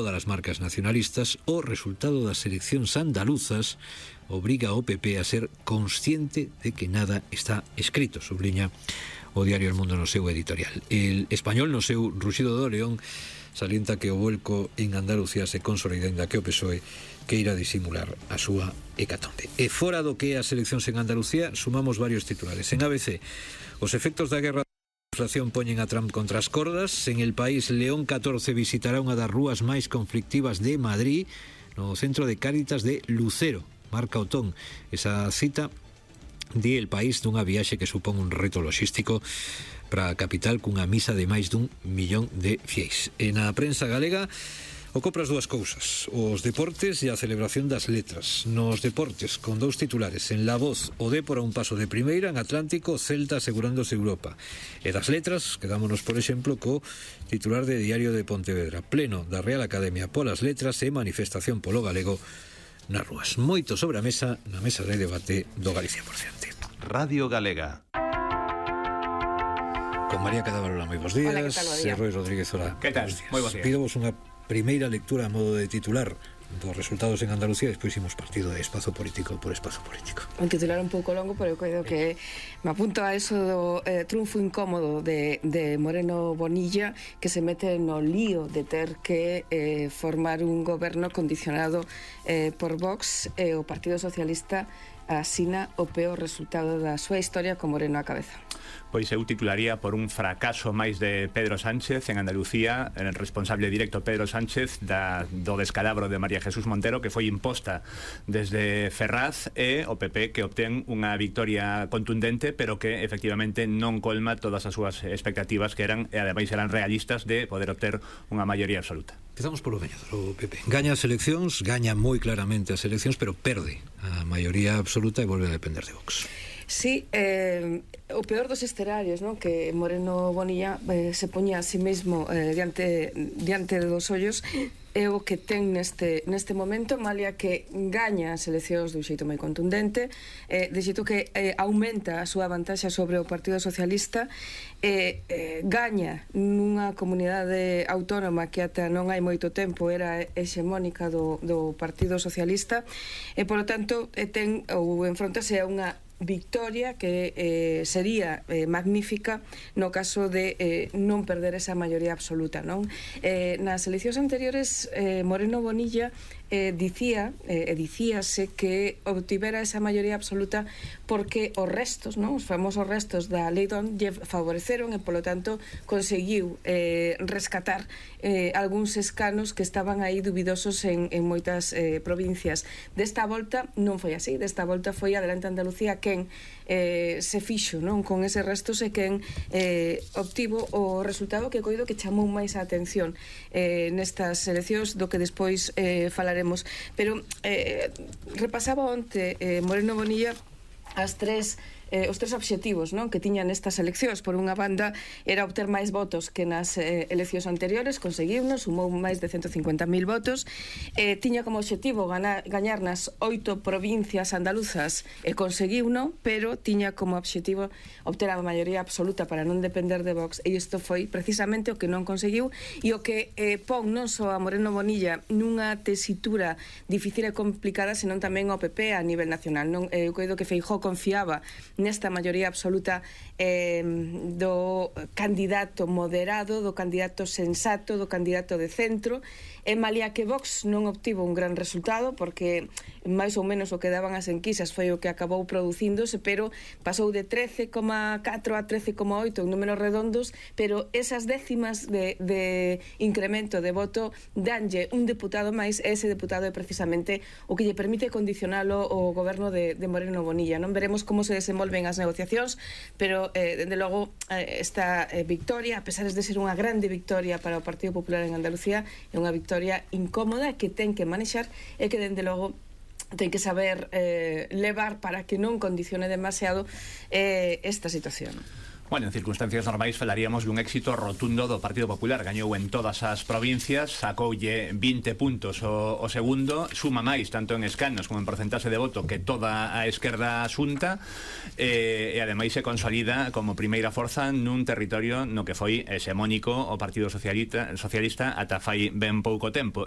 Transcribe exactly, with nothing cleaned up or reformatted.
das marcas nacionalistas, o resultado das eleccións andaluzas obriga ao P P a ser consciente de que nada está escrito, subliña o diario El Mundo no seu editorial. El Español no seu Ruxido do León salienta que o vuelco en Andalucía se consolida, ainda que o P S O E queira disimular a súa hecatombe. E fora do que é as eleccións en Andalucía, sumamos varios titulares. En A B C, os efectos da guerra da inflación poñen a Trump contra as cordas. En El País, León catorce visitará unha das rúas máis conflictivas de Madrid, no centro de Cáritas de Lucero. Marca Otón esa cita de El País dunha viaxe que supón un reto logístico para a capital cunha misa de máis dun millón de fieis. E na prensa galega o copras dúas cousas, os deportes e a celebración das letras. Nos deportes, con dous titulares. En La Voz, o Dépor a un paso de primeira, en Atlántico, Celta asegurándose Europa. E das letras, quedámonos, por exemplo, co titular de Diario de Pontevedra. Pleno da Real Academia polas letras e manifestación polo galego nas rúas. Moito sobre a mesa, na mesa de debate do Galicia por Ciante. Radio Galega. Con María Cadavarola, moi bons días. Hola, que tal, e Roi Rodríguez, hola. Que tal? Moi bons días. Pidovos unha primeira lectura a modo de titular dos resultados en Andalucía, despois imos partido de espazo político por espazo político. Un titular un pouco longo, pero eu creo que me apunto a eso do eh, triunfo incómodo de, de Moreno Bonilla, que se mete no lío de ter que eh, formar un goberno condicionado eh, por Vox, e o Partido Socialista asina o peor resultado da súa historia con Moreno á cabeza. Pois eu titularía por un fracaso máis de Pedro Sánchez en Andalucía, el responsable directo Pedro Sánchez da, do descalabro de María Jesús Montero, que foi imposta desde Ferraz, e o P P que obtén unha victoria contundente, pero que efectivamente non colma todas as súas expectativas, que eran, e ademais eran realistas, de poder obter unha maioría absoluta. Empezamos polo gañador, o P P. Gaña as eleccións, gaña moi claramente as eleccións, pero perde a maioría absoluta e volve a depender de Vox. Sí, eh, o peor dos escenarios, ¿no? Que Moreno Bonilla eh, se poña a sí mesmo eh, diante, diante dos ollos, é o que ten neste, neste momento, malia que gaña as eleccións dun xeito moi contundente, eh, de xeito que eh, aumenta a súa vantaxa sobre o Partido Socialista, eh, eh, gaña nunha comunidade autónoma que ata non hai moito tempo era hexemónica do, do Partido Socialista, e polo tanto eh, ten ou enfrontase a unha victoria que eh, sería eh, magnífica no caso de eh, non perder esa maioría absoluta, non? Eh, nas eleccións anteriores eh, Moreno Bonilla eh, dicía, eh, dicíase que obtivera esa maioría absoluta porque os restos, non? Os famosos restos da Lei Don lle favoreceron, e polo tanto conseguiu eh, rescatar eh, algúns escanos que estaban aí dubidosos en, en moitas eh, provincias. Desta volta non foi así, desta volta foi Adelante Andalucía quen eh, se fixo, non, con ese restos, e quen eh, obtivo o resultado que coido que chamou máis a atención eh, nestas eleccións, do que despois eh, falaremos. Pero eh, repasaba onte eh, Moreno Bonilla as tres eh, os tres obxectivos, non, que tiñan estas eleccións. Por unha banda era obter máis votos que nas eh, eleccións anteriores, conseguiunos, sumou máis de ciento cincuenta mil votos, eh, tiña como obxectivo ganar, gañar nas oito provincias andaluzas, e conseguiuno, pero tiña como obxectivo obter a maioría absoluta para non depender de Vox, e isto foi precisamente o que non conseguiu, e o que eh, pon non só a Moreno Bonilla nunha tesitura difícil e complicada, senón tamén ao P P a nivel nacional, non? Eu coido que Feijóo confiaba nesta maioría absoluta eh, do candidato moderado, do candidato sensato, do candidato de centro, e malia que Vox non obtivo un gran resultado, porque máis ou menos o que daban as enquisas foi o que acabou producíndose, pero pasou de trece coma catro a trece coma oito en números redondos, pero esas décimas de, de incremento de voto danlle un deputado máis, e ese deputado é precisamente o que lle permite condicionalo o goberno de, de Moreno Bonilla. Non veremos como se desenvolven as negociacións, pero eh, dende logo eh, esta eh, victoria, a pesar de ser unha grande victoria para o Partido Popular en Andalucía, é unha victoria incómoda que ten que manexar, e que dende logo ten que saber eh, levar para que non condicione demasiado eh, esta situación. Bueno, en circunstancias normais falaríamos dun éxito rotundo do Partido Popular. Gañou en todas as provincias, sacoulle vinte puntos o, o segundo, suma máis tanto en escanos como en porcentaxe de voto que toda a esquerda xunta, e, e ademais se consolida como primeira forza nun territorio no que foi hexemónico o Partido Socialista, Socialista ata fai ben pouco tempo.